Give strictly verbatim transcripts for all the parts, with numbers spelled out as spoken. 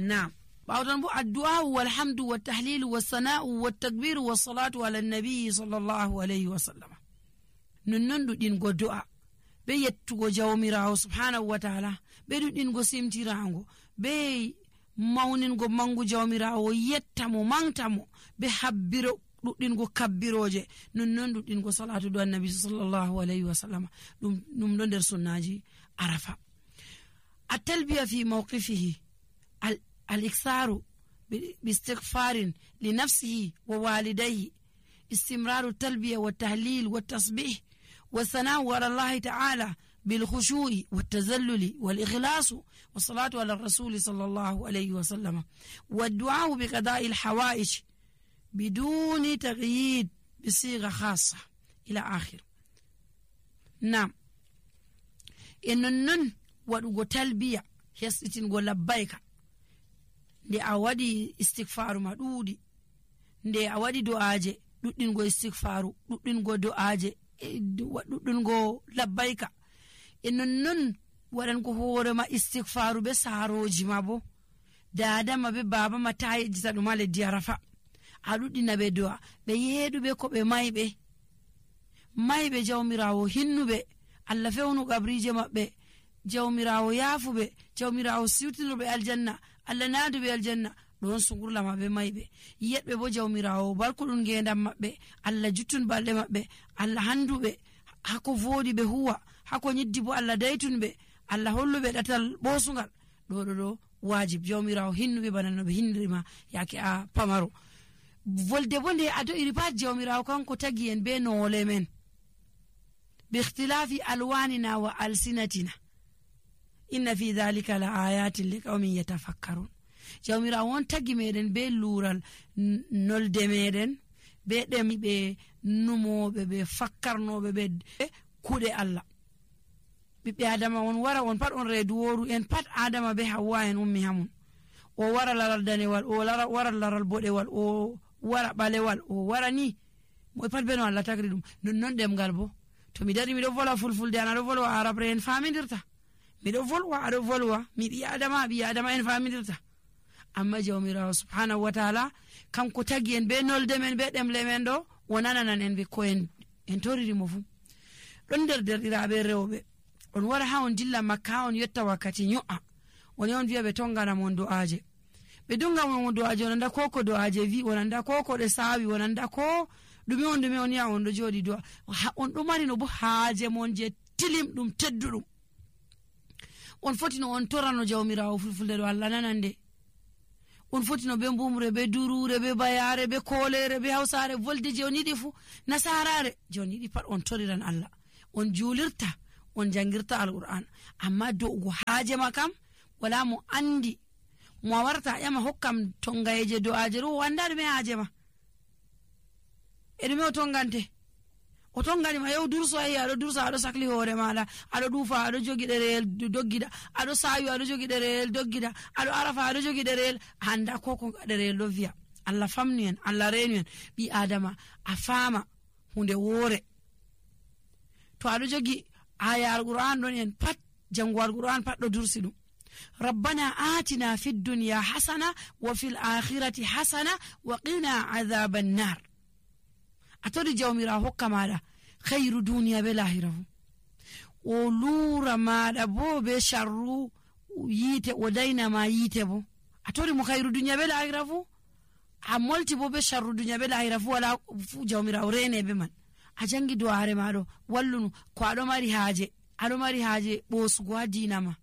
Naam. Bawdan bo addu'a walhamdu wattahlil wassana'u wattakbir wassalatu ala nabi sallallahu alayhi wa sallam. Nonnon dudin go du'a be yettugo jawmirawo subhanahu wa ta'ala be dudin go simtirango be mawnin go mangu jawmirawo yettamo mangtamo be habbiro dudin go kabbiroje nonnon dudin go salatu do annabi sallallahu alayhi wa sallam dum dum do der sunnaji arafa. At-talbiya fi mawqifihi al-iksaru باستغفار لنفسه ووالديه استمرار التلبية والتهليل والتصبيح والثناء على الله تعالى بالخشوع والتذلل والإخلاص والصلاة على الرسول صلى الله عليه وسلم والدعاء بقضاء الحوائج بدون تقييد بصيغة خاصة إلى آخر. نعم إنن ودو تلبية يستن قول لبيك nde a wadi istighfaru ma dudi nde a wadi du'aje duddin go istighfaru duddin go du'aje duddin go labbaika innon non wadan ko hore ma istighfaru be saroji ma bo dada ma be baba ma tayeji sadu male diarafa a duddina be du'a be yedu be ko be maybe maybe jawmirawo hinnube alla fewnu gabrije mabbe jawmirawo yafube jawmirawo siwtinube aljanna alla naadu be aljanna don sungurla mabbe maybe yedbe bo jawmirawo barkudun gendam mabbe alla juttun balde mabbe alla handube hako vodi be huwa hako nyiddi bo alla daytunbe alla hollube datal bosungal do do do wajib jawmirawo hinnube banano be hindrima yake a pamaro volde bonde ado iripat jawmirawo kanko tagi en be no lemen bi ikhtilafi alwanina wa alsinatina inna fi dhalika la ayatin liqaumin yatafakkarun. Jawmira won tagi meden be lural nolde meden be dem be numobe be fakkarnobe be kude Allah. Bibbe adama won wara won pat on redu woru en pat adama be hawa en ummi hamun o wara laral danewal o lara wara laral bodewal o wara balewal o wara ni mo pat be no Allah tagri dum non non dem galbo to mi dari mi do vola fulfulde ana do volwa arabre en famindirta mi do volwa ado volwa mi bi adama bi adama en famindirta amma jawmirawo subhanahu wa ta'ala kanko tagi en be nolde men be demle men do wonananan en be ko en en toriri mo fu don der der irabe rewbe on wara ha on dilla makka on yetta wakati nyo'a woni on viya be tongana mon du'aje be dunga mon du'aje on nda koko du'aje vi on nda koko de sawi on nda ko dumi on dumi on ya on do jodi do on do mari no bo haaje mon je tilim dum teddudum on fotino on torano jawmirawo fulfulde do Allah nanande on fotino be mbumre be durure be bayare be kolere be hawsare volde je onidi fu nasarare joni di pat on toriran Allah on julirta on jangirta alquran amma do go haaje makam wala mo andi mo warta yama hokkam tongayeje do ajeru wandade me haaje ma edime o tongante o tongani ma yow durso ay ado durso ado sakli hore mala ado dufa ado jogi derel doggida ado sayu ado jogi derel doggida ado arafa ado jogi derel handa koko derel do via Allah famni en Allah renu en bi adama afama hunde wore to ado jogi aya alquran don en pat jango alquran pat do dursi dum rabbana atina fid dunya hasana wa fil akhirati hasana wa qina adhaban nar atodi jawmira hokka mada khairu dunya be lahirahu o lura mada bo be sharru yite o dayna ma yite bo atodi mo khairu dunya be lahirahu a molti bo be sharru dunya be lahirahu wala fu jawmira rene be man a jangi duare mado wallunu ko ado mari haaje ado mari haaje bosugo adina ma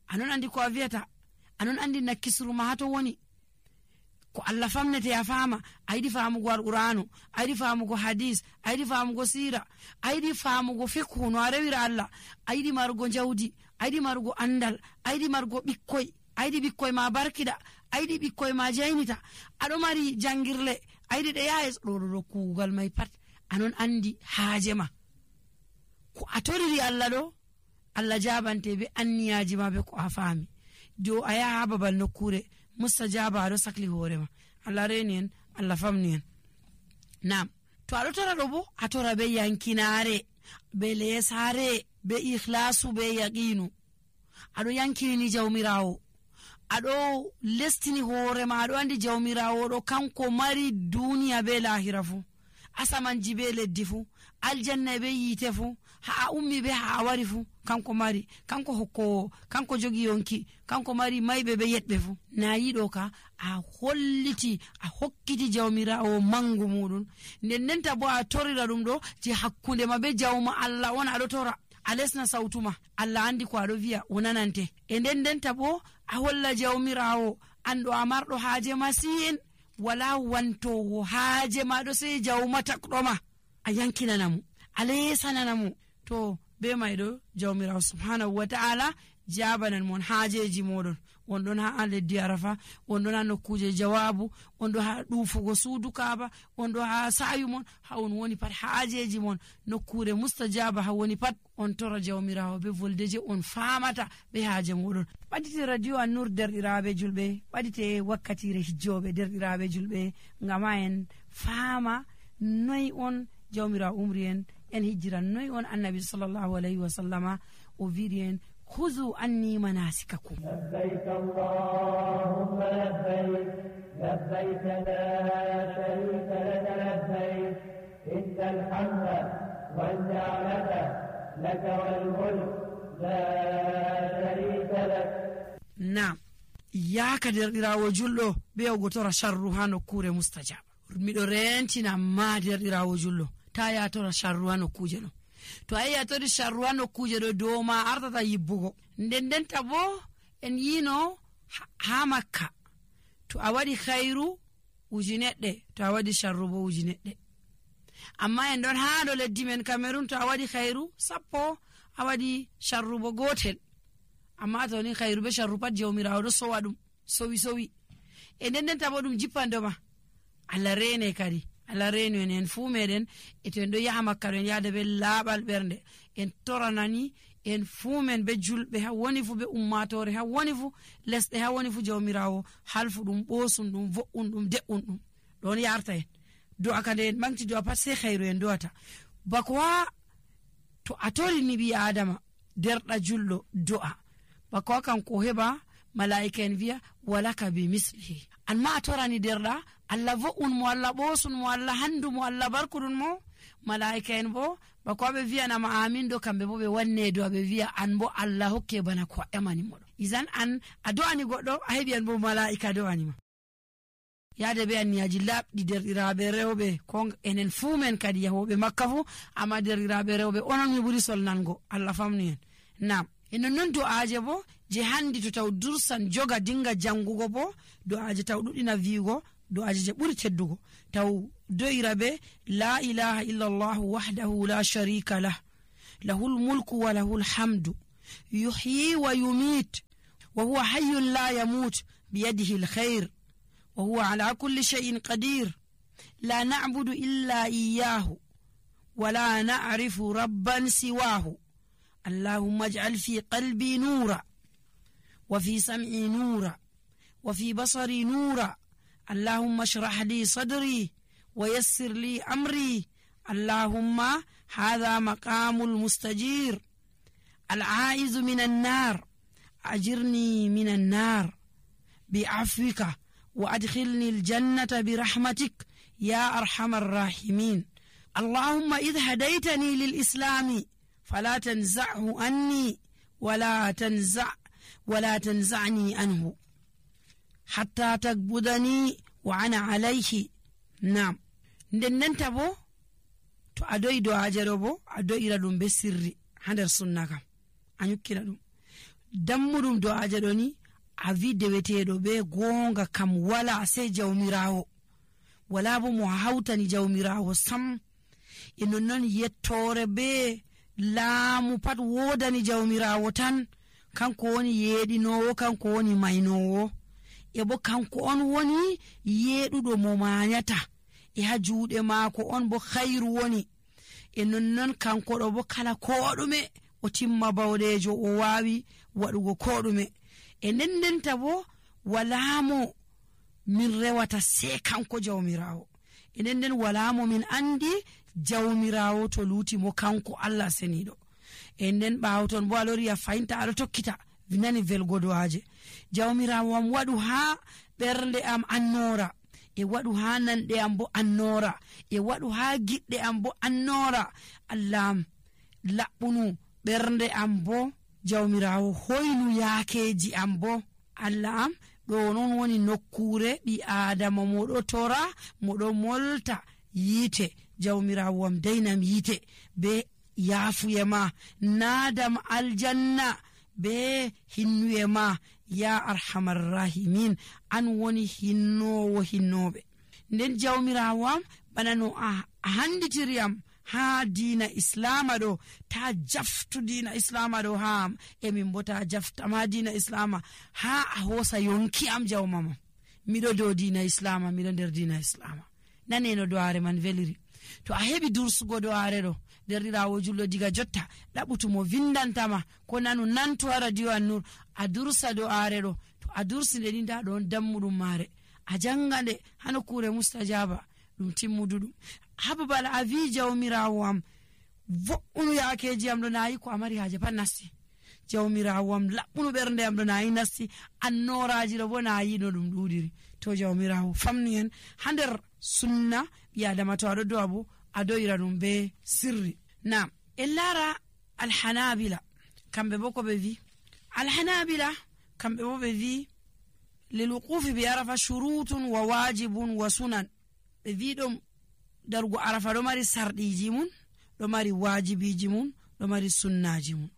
anon andi ko aviata anon andi nakisru ma hato woni ko Allah famnete ya fama aydi famugo alqur'anu aydi famugo hadith aydi famugo sira aydi famugo fiqh no arewira Allah aydi margo jawdi aydi margo andal aydi margo bikkoy aydi bikkoy ma barkida aydi bikkoy ma jaynita ado mari jangirle aydi de yaes do do kugal may pat anon andi haaje ma ko atoriri Allah do Allah jabante be anniyaji ma be ko afami do aya babal nokure mustajaba ado sakli horema Allah renien Allah famnien nam to ado tora do bo atora be yankinare be lesare be ikhlasu be yaqinu ado yankini jawmirawo aɗo lestini hoore ma aɗo andi jawmirawo ɗo kanko mari duniya be lahira fu, asamanji be leddi fu, aljanna be yite fu, ha a ummi be ha a wari fu kanko mari, kanko hokkowo, kanko jogi yonki, kanko mari mayɓe be yeɗɓe fu. Na yiɗo ka a holliti a hokkiti jawmirawo mangu muɗum, nden ndenta bo a torira ɗum ɗo je hakkunde ma be jawma Allah on aɗo tora, a lesna sautuma, Allah andi ko aɗo wiya o nanante. E nden ndenta bo a holla jawmirawo anɗo a marɗo haaje masin, wala wantowo haaje maɗo sey jawma takɗoma, a yankinanamo, a lesananamo. To be mayɗo jawmirawo subhanahu wa ta'ala jabanan mon haajeji moɗon. On ɗon ha leddi Arafa, on ɗon ha nokkuje jawabu, on ɗon ha ɗufugo suudu Kaaba, on ɗon ha sayu mon, ha on woni pat haajeji mon nokkure mustajaba ha woni pat on tora jawmirawo be voldeje on famata be haaje moɗon. Ɓadite radio An-Nur derɗiraɓe julɓe, ɓadite wakkatire hijjoɓe derɗiraɓe julɓe, ngama en fama noy on jawmirawo umri en en hijjira, noy on annabi sallallahu alayhi wa sallama o wiiri en خذوا عني مناسككم. لبيك اللهم لبيك لبيك لا شريك لك لبيك إن الحمد والنعمة لك والملك لا شريك لك. نعم يا كدردirawo julɗo be o gotora sharru ha nokkure mustajaba. Miɗo rentina ma derɗirawo julɗo ta ya tora sharru ha nokkuje no. To ayi a tori sharru ha nokkuje ɗo dow ma ardata yibbugo. Nden ndenta bo en yino ha Makka to a waɗi khairu uji neɗɗe, to a waɗi sharru bo uji neɗɗe. Amma en ɗon ha ɗo leddi men Cameroon to a waɗi khairu sappo, a waɗi sharru bo gotel. Amma to ni khairu be sharru pat jawmirawo ɗo sowa ɗum sowi sowi. E nden ndenta bo ɗum jippandoma. Allah rene kadi. Allah reni en en fuu meɗen e to en ɗo yaha Makka ɗo en yahda be laaɓal ɓernde, en toranani en fuu men be julɓe ha woni fu be ummatore ha woni fu lesɗe ha woni fu jawmirawo halfu ɗum ɓosum ɗum vo'un ɗum de'un ɗum ɗon yarta en do'a kade en ɓanti do'a pat sey khairu en do'ata bako wa to a torini ɓi adama derɗa julɗo do'a bako wa kanko heɓa malaika en wiya walaka bi mislihi, anma a torani derɗa Allah vo'un mo, Allah ɓosun mo, Allah handu mo, Allah barkuɗun mo. Malaika en bo bako ɓe wiyanama amin ɗo kamɓe bo ɓe wanne do ɓe wiya an bo Allah hokke bana ko emani moɗo. Izan an a do'ani goɗɗo a heɓi an bo malaika do'anima. Yaade be anniyaji labɗi derɗiraɓe rewɓe ko enen fuu men kadi yahoɓe Makka fu, amma derɗiraɓe rewɓe onon mi ɓuri solnango, Allah famni en. Nam e nonnon do'aje bo je handi to taw dursan joga dinga jangugo bo do'aje taw ɗuɗɗina wiigo do'aje je ɓuri teddugo taw do'ira be la ilaha illallah wahdahu la sharika lah lahul mulku wa lahul hamdu yuhyi wa yumit wa huwa hayyun la yamut biyadihi alkhair wa huwa ala kulli shay'in qadir la na'budu illa iyyahu wa la na'rifu rabban siwahu allahumma ij'al fi qalbi nura wa fi sam'i nura wa fi basari nura اللهم اشرح لي صدري ويسر لي أمري اللهم هذا مقام المستجير العائز من النار أجرني من النار بعفوك وأدخلني الجنة برحمتك يا أرحم الراحمين اللهم إذ هديتني للإسلام فلا تنزعه عني ولا تنزع ولا تنزعني عنه hatta takbudani wa ana alayhi. Nam nden nenta bo to a do'i do'aje ɗo bo a do'ira ɗum be sirri ha nder sunna kam a nyukkina ɗum dammuɗum do'aje ɗo ni a wi deweteɗo be gonga kam wala sey jawmirawo, wala bo mo hawtani jawmirawo sam. e nonnon yettore be laamu pat wodani jawmirawo tan, kanko woni yeɗinowo, kanko woni maynowo, e bo kanko on woni yeɗuɗo mo mañata, e ha juuɗe maako on bo khairu woni. e nonnon kanko ɗo bo kala koɗume o timma bawɗejo o wawi waɗugo koɗume. e nden ndenta bo walamo min rewata se kanko jawmirawo, e nden nden walamo min andi jawmirawo to luti mo kanko Allah seniɗo. e nden ɓawo ton bo alori a fayinta aɗo tokkita nani velgo du'aje. Jawmirawo am waɗu ha ɓernde am annora, e waɗu ha nanɗe am bo annora, e waɗu ha giɗɗe am bo annora. Allah am laɓɓunu ɓernde am bo, jawmirawo hoynu yaakeji am bo. Allah am ɗo non woni nokkure ɓi adama moɗo tora moɗo molta yite. Jawmirawo am daynam yite be yaafuye ma, nadam aljanna be hinnuye ma, ya arhamar rahimin. An woni hinnowo hinnoɓe. Nden jawmirawo am bana no a handitiri am ha dina islama ɗo, ta jaftu dina islama ɗo ha am, e min bo ta jaftama dina islama ha a hosa yonki am jawmama. Miɗo dow dina islama, miɗo nder dina islama. Naneno do'are man veliri. To a heɓi dursugo do'are ɗo, derɗirawo julɗo diga jotta ɗaɓutumo vindantama ko nanu nantu ha radio An-Nur, a dursa do'are ɗo. To a dursi nde ni nda ɗon dammuɗum mare, a janga nde ha nokkure mustajaba ɗum timmuduɗum. Ha babal a wi jawmirawo am vo'unu yaakeji am ɗo, nayi ko a mari haje pat nasti. Jawmirawo am laɓɓunu ɓernde am ɗo, nayi nasti. Annoraji ɗo bo nayi no ɗum ɗuɗiri. To jawmirawo famni en ha nder sunna ɓi adama, to aɗo do'a bo a do'ira ɗum be sirri. Nam en lara alhanabila, kamɓe bo ko ɓe vi. Alhanabila kamɓe bo ɓe vi lil wuqufi bi arafa shurutun wa wajibun wa sunan. Ɓe vi ɗum darugo arafa ɗo mari sarɗiji mun, ɗo mari wajibiji mun, ɗo mari sunnaji mun.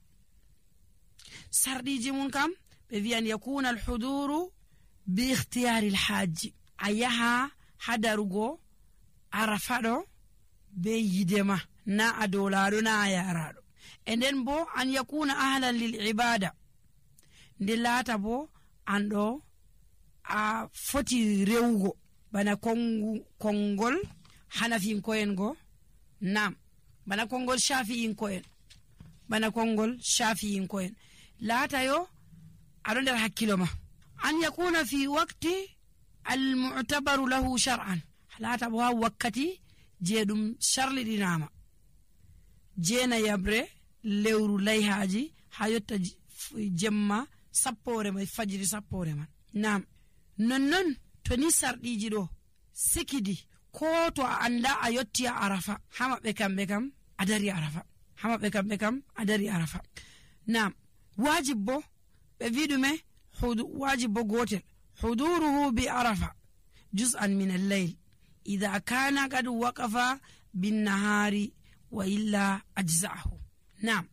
Sarɗiji mun kam ɓe vi an yakuna alhuduru bi ikhtiyari alhaji, a yaha ha darugo arafa ɗo be yidema, na a dolaɗo na a yaraɗo. E nden bo an yakuna ahlan lil ibada, nde laata bo an ɗo a foti rewugo bana kongu kongol hanafinko'en go, nam bana kongol shafi'inko'en, bana kongol shafi'inko'en. Laata yo aɗo nder hakkilo ma. An yakuna fi waqti almu'tabaru lahu shar'an, laata bo ha wakkati je ɗum sharliɗinama, jeena yabre lewru layhaji ha yotta jemma sappore mai, fajiri sappore man. Nam nonnon to ni sarɗiji ɗo sikidi, ko to a anda a yotti a arafa, ha maɓɓe kamɓe kam a dari arafa, ha maɓɓe kamɓe kam a dari arafa. Nam wajib bo ɓe wi ɗume, wajib bo gotel, huduruhu bi arafa juz'an min al-layl idha kana qad waqafa bin nahari wa illa ajza'ahu. Nam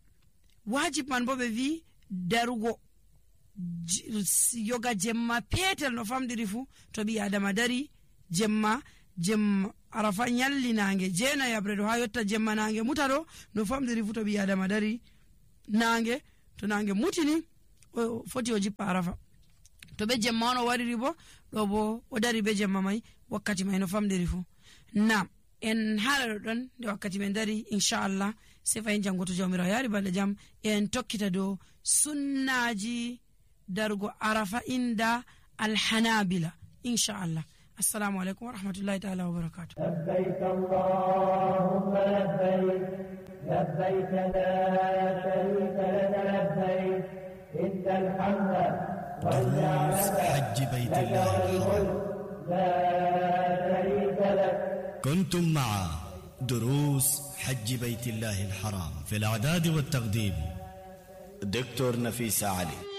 wajib man bo ɓe wi darugo yoga jemma petel no famdiri fu. To ɓi adama dari jemma, jemma arafa nyalli nange jeena yabre ɗo ha yotta jemma nange muta ɗo no famdiri fu. To ɓi adama dari nange, to nange mutini o foti o jippa arafa. To be jemma on o wariri bo ɗo bo o dari be jemma mai wakkati mai no famdiri fu. Nam en haala ɗo ɗon nde wakkati men dari, inchallah sai fayin jango to jawmirawo yari balɗe jam en tokkita dow sunnaji darugo arafa inda alhanabila inchallah. Assalamu alaikum wa rahmatullahi ta'ala wa barakatuh. لبيك اللهم لبيك لبيك لا شريك لك لبيك إن الحمد والنعمة حج بيت الله الحرام. لا شريك لك. كنتم مع دروس حج بيت الله الحرام في الإعداد والتقديم دكتور نفيس علي.